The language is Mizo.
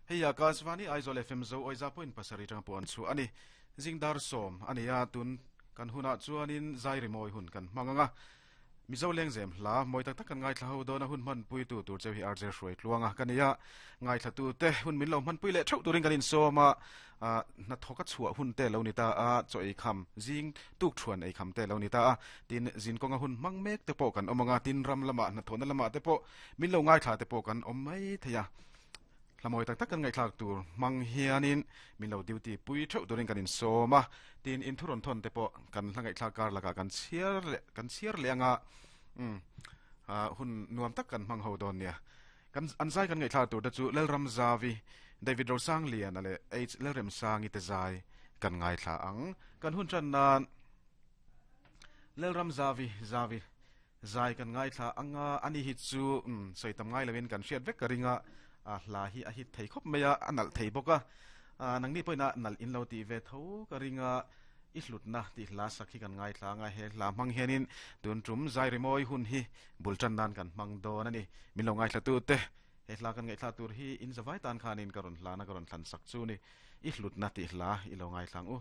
Hei Akashvani Aizawl FM Zo Awiza point pasarih atanga pawh an chhuah a ni. Zing dar sawm a ni a, tun kan hunah chuanin zai rimawi hun kan hmang ang a. Mizo lengzem hla mawi tak tak kan ngaithla ho dawn a, hun hmanpui tu tur cheu hi RJ Hruai Tluanga ka ni a. Ngaithla tu te hun min lo hmanpui leh theuh turin kan insawm a, hnathawk a chhuah hun te lo ni ta a, chaw ei kham zing tuk thuan ei kham te lo ni ta a, tin zin kawnga hun hmang mek te pawh kan awm ang a, tin ram lamah hnathawhna lamah te pawh min lo ngaithla te pawh kan awm mai thei a. Hla mawi tak tak kan ngaihthlak tur hmang hianin min lo duty pui theuh turin kan insawm a, tin in thu rawn thawn te pawh kan hla ngaihthlak kar lakah kan chhiar leh kan chhiar leh anga umm hun nuam tak kan hmang ho dawn nia. Kan an zai kan ngaihthlak tur te chu Lalram Zavi, David Rosangliana leh H Lalremsangi te zai kan ngaithla ang. Kan hun tan nan Lalram Zavi Zavi Zai kan ngaithla ang a, ani hi chu umm sawi tam ngai loin kan hriat vek ka ring a, a hla hi a hit thei khawp mai a, a nalh thei bawk a, nangni pawhin a nalh in lo tih ve tho ka ring a, i hlutna tih hla sak hi kan ngaithla ang a, he hla hmang hianin tun tum zai rimawi hun hi bul tan nan kan hmang dawn a ni, min lo ngaithla tu te he hla kan ngaihthla tur hi in zavai tan khanin ka rawn hlana ka rawn thlan sak chu ni, i hlutna tih hla i lo ngaithla ang u.